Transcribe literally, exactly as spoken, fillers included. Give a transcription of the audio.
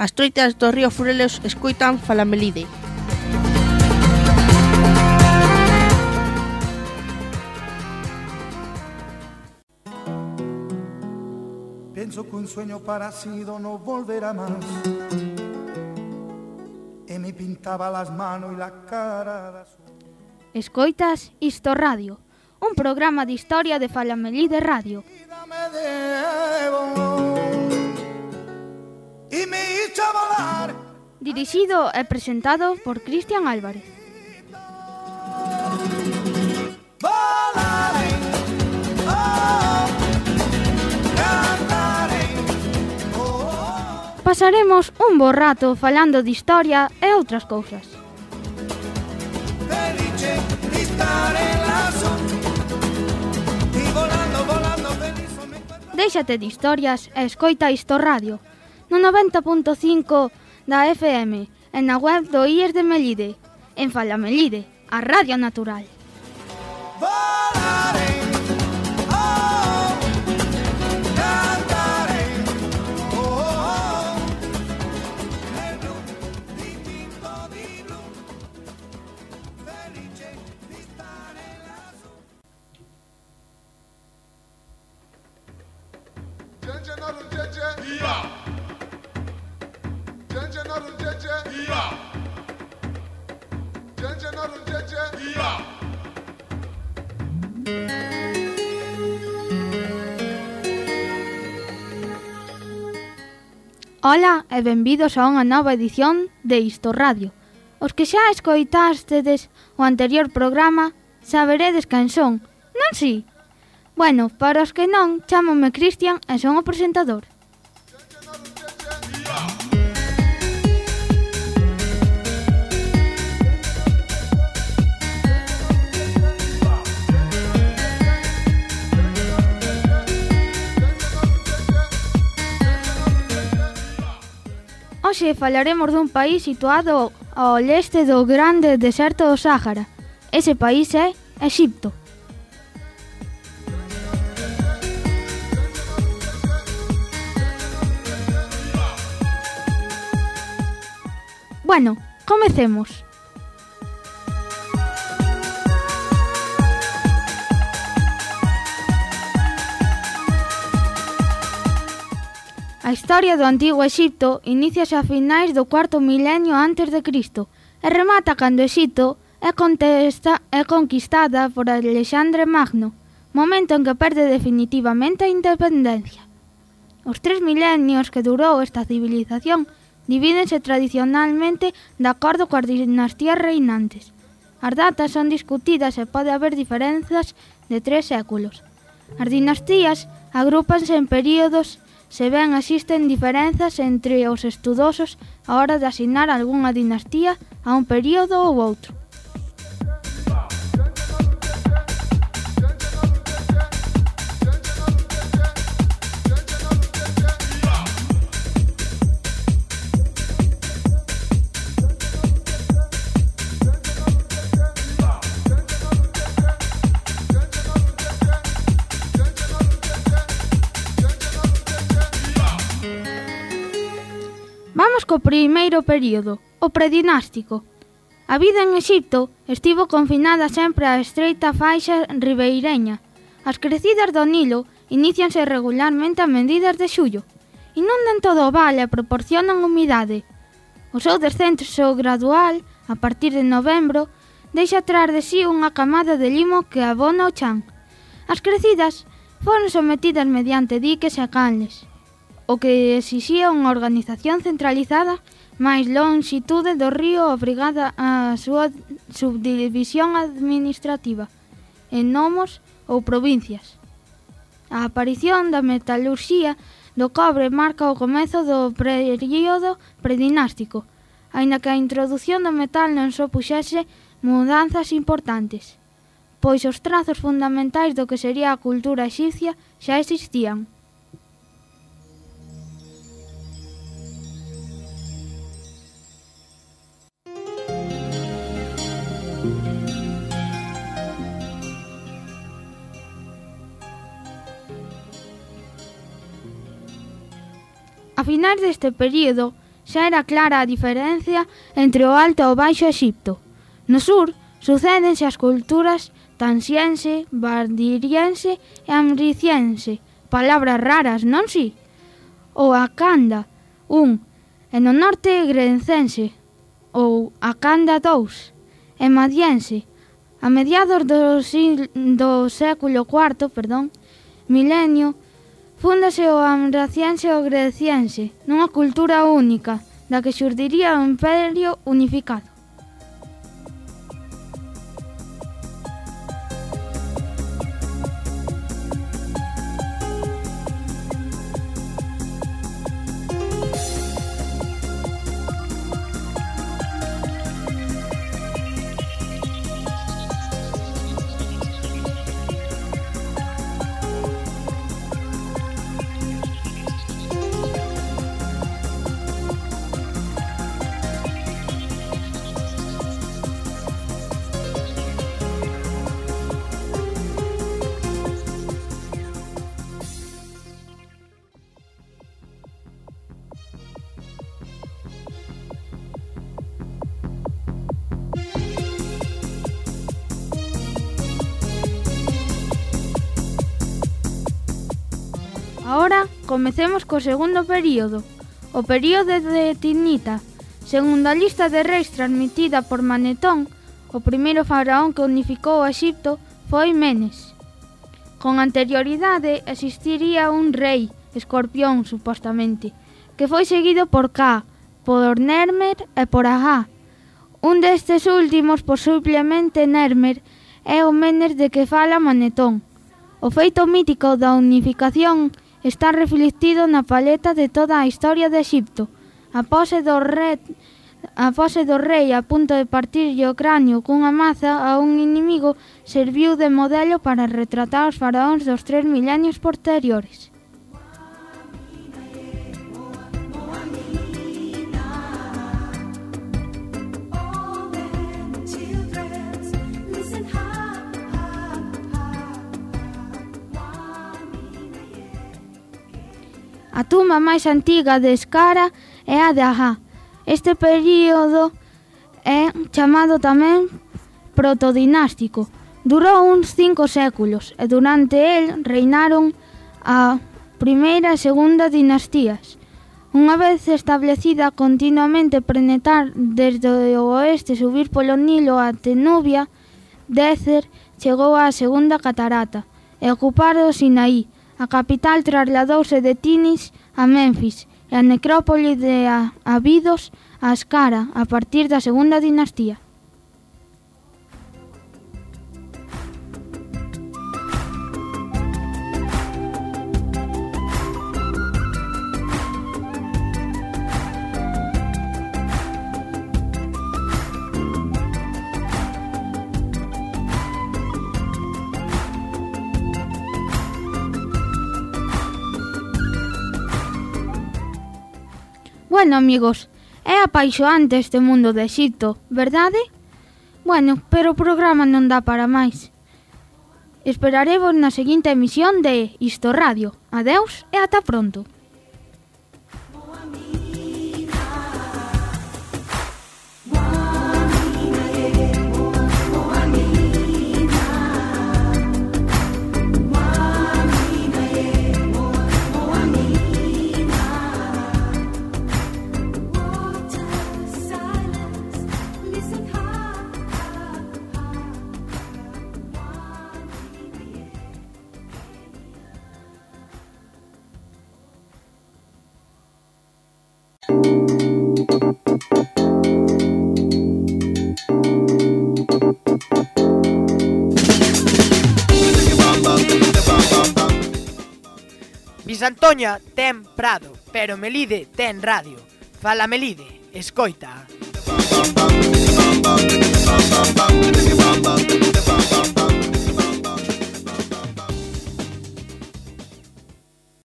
As troitas do río Furelos escoitan Falamelide. Pienso que un sueño parecido no volverá más. Y me pintaba las manos y la cara de azul. Escoitas Isto Radio, un programa de historia de Falamelide Radio. Y me hizo volar. Dirixido e presentado por Cristian Álvarez. Volaré, oh, cantaré, oh. Pasaremos un bo rato falando de historia e outras cousas. Felice di stare lassù. Y volando, volando, feliz me encuentro. Déixate de historias e escoita Isto Radio, no noventa punto cinco da F M, e na web do I E S de Melide, en Falamelide, a Radio Natural. Volaré, oh, cantaré, oh, nel blu dipinto di blu, felice di stare lassù. Jeje narum jeje, iya. Jeje narum jeje, iya. Jeje narum jeje, iya. Ola e benvidos a unha nova edición de Isto Radio. Os que xa escoitástedes o anterior programa saberedes quen son, non si? Bueno, para os que non, chámome Cristian e son o presentador. Hoxe falaremos dun país situado ao leste do grande deserto do Sáhara. Ese país é Exipto. Bueno, comecemos. A historia do antigo Exipto iníciase a finais do cuarto milenio antes de Cristo e remata cando Exipto é, contesta, é conquistada por Alexandre Magno, momento en que perde definitivamente a independencia. Os tres milenios que durou esta civilización divídense tradicionalmente de acordo coas dinastías reinantes. As datas son discutidas e pode haber diferenzas de tres séculos. As dinastías agrúpanse en períodos. Se ben existen diferenzas entre os estudosos a hora de asignar algunha dinastía a un período ou outro. Vamos co primeiro período, o predinástico. A vida en Exipto estivo confinada sempre á estreita faixa ribeireña. As crecidas do Nilo inícianse regularmente a medidas de xullo. Inundan todo o val e proporcionan humidade. O seu descenso gradual, a partir de novembro, deixa atrás de sí unha camada de limo que abona o chan. As crecidas foron sometidas mediante diques e canles, o que exixía unha organización centralizada máis longitude do río obrigada a súa subdivisión administrativa en nomos ou provincias. A aparición da metalurxía do cobre marca o comezo do período predinástico, aínda que a introdución do metal non supuxese mudanzas importantes, pois os trazos fundamentais do que sería a cultura exipcia xa existían. A finais deste período xa era clara a diferencia entre o Alto e o Baixo Exipto. No sur, sucédense as culturas tansiense, bardiriense e amriciense, palabras raras, non si? Ou Akanda, un, e no norte grencense, ou Akanda dous, e madiense. A mediados do, do século cuarto, perdón, milenio, fúndase o amraciense e o greciense, nunha cultura única, da que xurdiría o imperio unificado. Ahora comecemos co segundo período, o período de Tignita. Segundo a lista de reis transmitida por Manetón, o primeiro faraón que unificou o Exipto foi Menes. Con anterioridade existiría un rei, Escorpión, supostamente, que foi seguido por Ka, por Nermer e por Aha. Un destes últimos, posiblemente Nermer, é o Menes de que fala Manetón. O feito mítico da unificación está reflectido na paleta de toda a historia de Exipto. A pose do rei, a pose do rei a punto de partirlle o cráneo cunha maza a un inimigo serviu de modelo para retratar os faraóns dos tres milenios posteriores. A tumba máis antiga de Skara é a de Aha. Este período é chamado tamén protodinástico. Durou uns cinco séculos e durante el reinaron a primeira e segunda dinastías. Unha vez establecida, continuamente penetrar desde o oeste, subir polo Nilo até Nubia, Decer chegou á segunda catarata e ocupar o Sinaí. A capital trasladouse de Tinis a Menfis e a necrópole de Abidos a Skara a partir da segunda dinastía. Bueno, amigos, é apaixoante este mundo de Exipto, verdade? Bueno, pero o programa non dá para máis. Esperaremos na seguinte emisión de Isto Radio. Adeus e ata pronto. Bisantoña ten prado, pero Melide ten radio. Fala Melide, escoita.